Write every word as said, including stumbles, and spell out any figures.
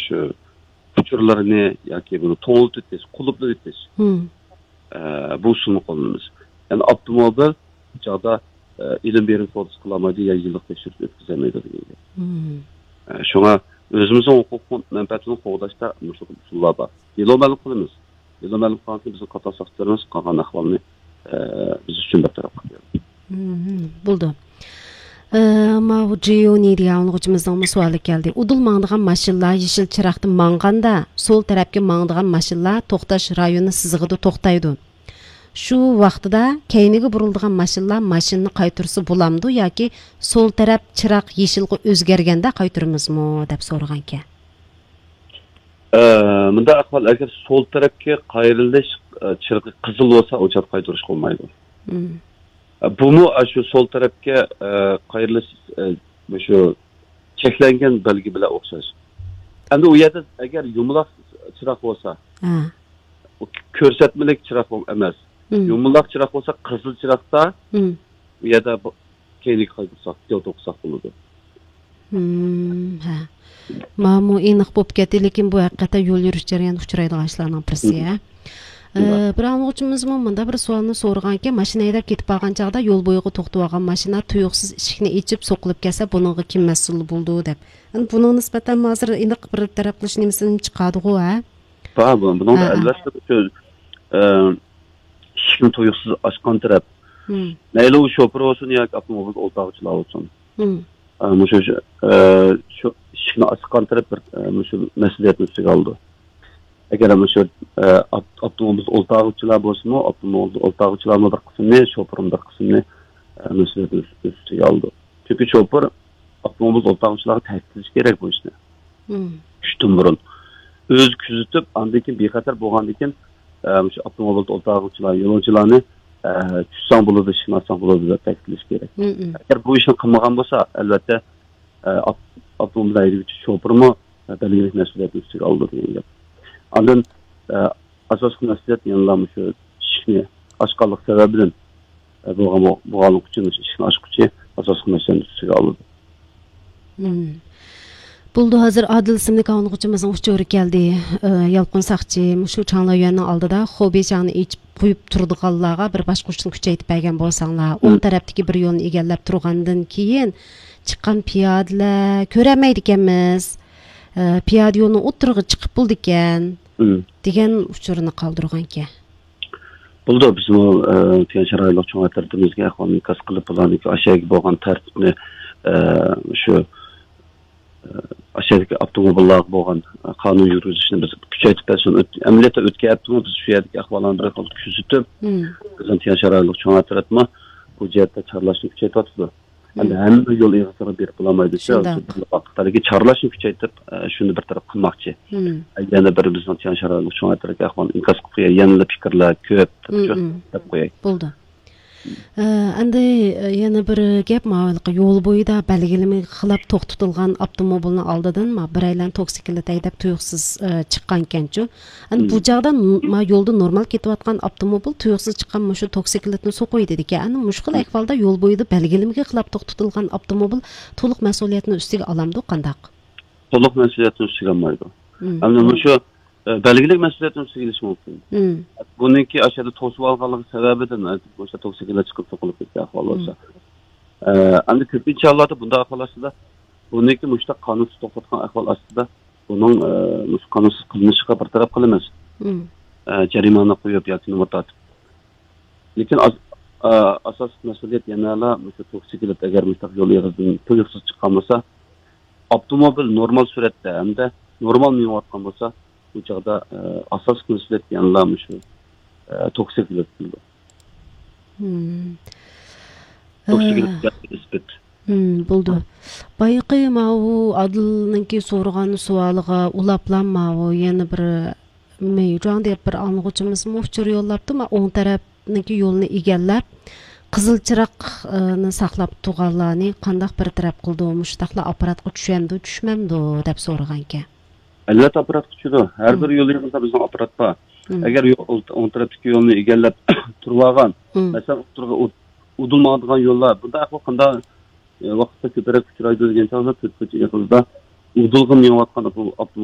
شۇ ئۇچۇرلىرىنى ياكى بۇنى توڭلىتىۋېتىش، قۇلۇپلاۋېتىش، مم. ئە، بۇ ئۇسۇلنى قوللىنىمىز. يەنى ئاپتوموبىل چاغدا، ئە، ئېلىم بېرىم سودىسى قىلالمايدۇ، يا يىللىق تەكشۈرۈش ئۆتكۈزەلمەيدۇ دېگەن گەپ. مم. ئە، شۇڭا ئۆزىمىزنىڭ ھوقۇق مەنپەئەتىنى قوغداشتا مۇشۇ ئۇسۇللار بار. دېلو مەلۇم قىلىمىز. دېلو مەلۇم قىلغاندىن كېيىن بىزنىڭ قاتناش ساقچىلىرىمىز قالغان ئەھۋالنى، ئە، بىز ئۈچۈن بىر تەرەپ قىلىپ بېرىدۇ. مم، بولىدۇ. ئە، ماۋۇ جىيونى دېگەن ئاڭلىغۇچىمىزنىڭمۇ سوئالى كەلدى. ئۇدۇل ماڭىدىغان ماشىنىلار يېشىل چىراغدا ماڭغاندا، سول تەرەپكە ماڭىدىغان ماشىنىلار توختاش رايونى سىزىقىدا توختايدۇ. شۇ ۋاقتىدا كەينىگە بۇرۇلىدىغان ماشىنىلار ماشىنىنى قايتۇرسا بولامدۇ ياكى سول تەرەپ چىراغ يېشىلغا ئۆزگەرگەندە قايتۇرىمىزمۇ دەپ سورىغانىكەن. ئە، مۇنداق ئەھۋال، ئەگەر سول تەرەپكە قايرىلىش، ئە، چىرىغى قىزىل بولسا، ئۇ چاغدا قايتۇرۇشقا بولمايدۇ. مم. ئە، بۇمۇ، ئە، شۇ سول تەرەپكە، ئە، قايرىلىش، ئە، مۇشۇ چەكلەنگەن بەلگە بىلەن ئوخشاش. ئەمدى ئۇ يەردە ئەگەر يۇمىلاق چىراغ بولسا، ھە. ئۇ كۆرسەتمىلىك چىراغ بول-، ئەمەس. مم. يۇمىلاق چىراغ بولسا، قىزىل چىراغدا مم. ئۇ يەردە بۇ-، كەينىگە قايتۇرساق، يول توقۇساق بولىدۇ. مم، ھە. ماۋۇ ئېنىق بولۇپ كەتتى، لېكىن بۇ ھەقىقەتەن يول يۈرۈش جەريانىدا ئۇچرايدىغان ئىشلارنىڭ بىرسى، مم. ھە. ئە، بىر ئاڭلىغۇچىمىزمۇ مۇنداق بىر سوئالنى سورىغانكەن، ماشىنا ھەيدەپ كېتىپ بارغان چاغدا يول بويىغا توختىۋالغان ماشىنا تۇيۇقسىز ئىشىكنى ئېچىپ سوقۇلۇپ كەتسە، بۇنىڭغا كىم مەسئۇل بولىدۇ دەپ. ئەمدى بۇنىڭغا نىسبەتەن ھازىر ئېنىق بىر تەرەپ قىلىش نېمىسىنى چىقاردىغۇ، ھە؟ بار، بۇ-، بۇنىڭدا ھە، ھە. ئەلۋەتتە شۇ، ئە، ئىشىكنى تۇيۇقسىز ئاچقان تەرەپ. مم. مەيلى ئۇ شوپۇر بولسۇن ياكى ئاپتوموبىل ئولتۇرغۇچىلار بولسۇن. مم. ئە، مۇشۇ، ئە، شۇ ئىشىكنى ئاچقان تەرەپ بىر، ئە، مۇشۇ مەسئۇلىيەتنى ئۈستىگە ئالىدۇ. ئەگەر مۇشۇ، ئە، ئاپ-، ئاپتوموبىل ئولتۇرغۇچىلار بولسىمۇ، ئاپتوموبىل ئولتۇرغۇچىلارمۇ بىر قىسمىنى، شوپۇرمۇ بىر قىسمىنى، ئە، مەسئۇلىيەتنى ئۈست-، ئۈستىگە ئالىدۇ. چۈنكى شوپۇر ئاپتوموبىل ئولتۇرغۇچىلارغا تەكىتلىشى كېرەك بۇ ئىشنى. مم. چۈشتىن بۇرۇن. ئۆزى كۆزىتىپ، ئاندىن كېيىن بىخەتەر بولغاندىن كېيىن، ئە، مۇشۇ ئاپتوموبىلدا ئولتۇرغۇچىلار، يولۇچىلارنى، ئە، چۈشسەڭ بولىدۇ، ئىشىكنى ئاچساڭ بولىدۇ دەپ تەكىتلىشى كېرەك. مم، مم. ئەگەر بۇ ئىشنى قىلمىغان بولسا، ئەلۋەتتە، ئە، ئاپ-، ئاپتوموبىل ھەيدىگۈچى شوپۇرمۇ، ئە، بەلگىلىك مەسئۇلىيەتنى ئۈستىگە ئالىدۇ دېگەن گەپ. ئاندىن، ئە، ئاساسلىق مەسئۇلىيەت يەنىلا مۇشۇ ئىشىكنى ئاچقانلىق سەۋەبىدىن، ئە، بولغان، بولغانلىقى ئۈچۈن مۇشۇ ئىشىكنى ئاچقۇچى ئاساسلىق مەسئۇلىيەتنى ئۈستىگە ئالىدۇ. مم. بولدى، ھازىر ئادىل ئىسىملىك ئاڭلىغۇچىمىزنىڭ ئۇچۇرى كەلدى. ئى، يالقۇن ساقچى، مۇشۇ چاڭلايۈەننىڭ ئالدىدا خۇبېي چاڭنى ئېچىپ قويۇپ تۇرىدىغانلارغا بىر باشقۇرۇشنى كۈچەيتىپ بەرگەن بولساڭلار، ئوڭ مم. تەرەپتىكى بىر يولنى ئىگىلەپ تۇرغاندىن كېيىن چىققان پىيادىلەر كۆرەلمەيدىكەنمىز. ئى، پىيادە يولنىڭ ئوتتۇرىغا چىقىپ بولىدىكەن، مم. دېگەن ئۇچۇرنى قالدۇرغانىكەن. بولىدۇ، بىزمۇ، ئە، تيەنشان رايونلۇق چوڭ ئەترىتىمىزگە ئەھۋالنى ئىنكاس قىلىپ، بۇلارنىڭكى ئاشۇ يەرگە بولغان تەرتىپنى، ئە، شۇ، ئە، ئاشۇ يەردىكى ئاپتوموبىللارغا بولغان، ئە، قانۇن يۈرگۈزۈشنى بىز كۈچەيتىپ بەرسۇن. ئۆت-، ئەمەلىيەتتە ئۆتكەن ھەپتىمۇ بىز شۇ يەردىكى ئەھۋاللارنى بىر خىل كۆزىتىپ، مم. بىزنىڭ تيەنشان رايونلۇق چوڭ ئەترىتىمۇ بۇ جەھەتتە چارلاشنى كۈچەيتىۋاتىدۇ. ئەمدى مم. ھەممە يول ئېغىزلىرىغا بېرىپ بولالمايدۇ. شۇنداق. شۇ بىر ۋاقىتلاردا چارلاشنى كۈچەيتىپ، ئە، شۇنى بىر تەرەپ قىلماقچى. مم. يەنە بىر بىزنىڭ تيەنشان رايونلۇق چوڭ ئەترىتىمىزگە ئەھۋالنى ئىنكاس قىلىپ قوياي. يەنىلا پىكىرلەر كۆپ، مم، شۇ مم. دەپ قوياي. بولدى. ئە، ئەمدى، ئە، يەنە بىر گەپ، ماۋۇ ھېلىقى يول بويىدا بەلگىلىمىگە خىلاپ توختىتىلغان ئاپتوموبىلنىڭ ئالدىدىن ما بىرەيلەن توكسىكلىت ھەيدەپ تۇيۇقسىز، ئە، چىققانىكەنچۇ. ئەنە بۇ مم. چاغدا ن-، ما يولدا نورمال كېتىۋاتقان ئاپتوموبىل تۇيۇقسىز چىققان مۇشۇ توكسىكلىتنى سوقۇۋېتىدىكەن. ئەنە مۇشۇ خىل مم. ئەھۋالدا يول بويىدا بەلگىلىمىگە خىلاپ توختىتىلغان ئاپتوموبىل تولۇق مەسئۇلىيەتنى ئۈستىگە ئالامدۇ، قانداق؟ تولۇق مەسئۇلىيەتنى ئۈستىگە ئالمايدۇ. مم. ئەمدى مۇشۇ، ئە، بەلگىلىك مەسئۇلىيەتنى ئۈستىگە ئېلىشى مۇمكىن. مم. بۇنىڭكى ئاشۇ يەردە توسۇۋالغانلىقى سەۋەبىدىن، ئە، مۇشۇ توكسىكلار چىقىپ سوقۇلۇپ كەتكەن ئەھۋال بولسا. مم. ئە، ئەمدى كۆپىنچە ھاللاردا بۇنداق ئەھۋال ئاستىدا، بۇنىڭكى مۇشۇنداق قانۇنسىز توختاتقان ئەھۋال ئاستىدا، بۇنىڭ، ئە، مۇشۇ قانۇنسىز قىلمىشىغا بىر تەرەپ قىلىمىز. مم. ئە، جەرىمانە قويۇپ ياكى نومۇر تارتىپ. لېكىن ئاس-، ئا-، ئاساسلىق مەسئۇلىيەت يەنىلا مۇشۇ توكسىكلىت، ئەگەر مۇشۇنداق يول ئېغىزىدىن تۇيۇقسىز چىققان بولسا، ئاپتوموبىل نورمال سۈرئەتتە ھەمدە نورمال مېڭىۋاتقان بولسا، بۇ چاغدا، ئە، ئاساسلىق مەسئۇلىيەت يەنىلا مۇشۇ، ئە، توكسىكلىت بولىدۇ. مم. توكسىكلىت ئە، ئىسپات. مم، بولدى. بايىقى ماۋۇ ئادىلنىڭكى سورىغان سوئالىغا ئۇلاپلا ماۋۇ يەنە بىر مېيجۇاڭ دەپ بىر ئاڭلىغۇچىمىزمۇ ئۇچۇر يوللاپتۇ. ما ئوڭ تەرەپنىڭكى يولىنى ئىگىلەپ، قىزىل چىراغنى ساقلاپ تۇرغانلارنى قانداق بىر تەرەپ قىلىدۇ؟ مۇشۇنداقلا ئاپپاراتقا چۈشەمدۇ، چۈشمەمدۇ دەپ سورىغانىكەن. ئەلۋەتتە ئاپپاراتقا چۈشىدۇ. ھەر مم. بىر يول يېنىدا بىزنىڭ ئاپپارات بار. مم. ئەگەر يو-، ئول-، ئوڭ تەرەپتىكى يولنى ئىگىلەپ تۇرۇۋالغان، مم. مەسىلەن، ئوتتۇرىغا ئۇ-، ئۇدۇل ماڭىدىغان يوللار، بۇنداق ئەھۋال قانداق، ئە، ۋاقىتتا كۆپرەك ئۇچرايدۇ دېگەن چاغدا، تۆت كوچا ئېغىزىدا ئۇدۇلغا مېڭىۋاتقان ئاپتو-، ئاپتوموبىل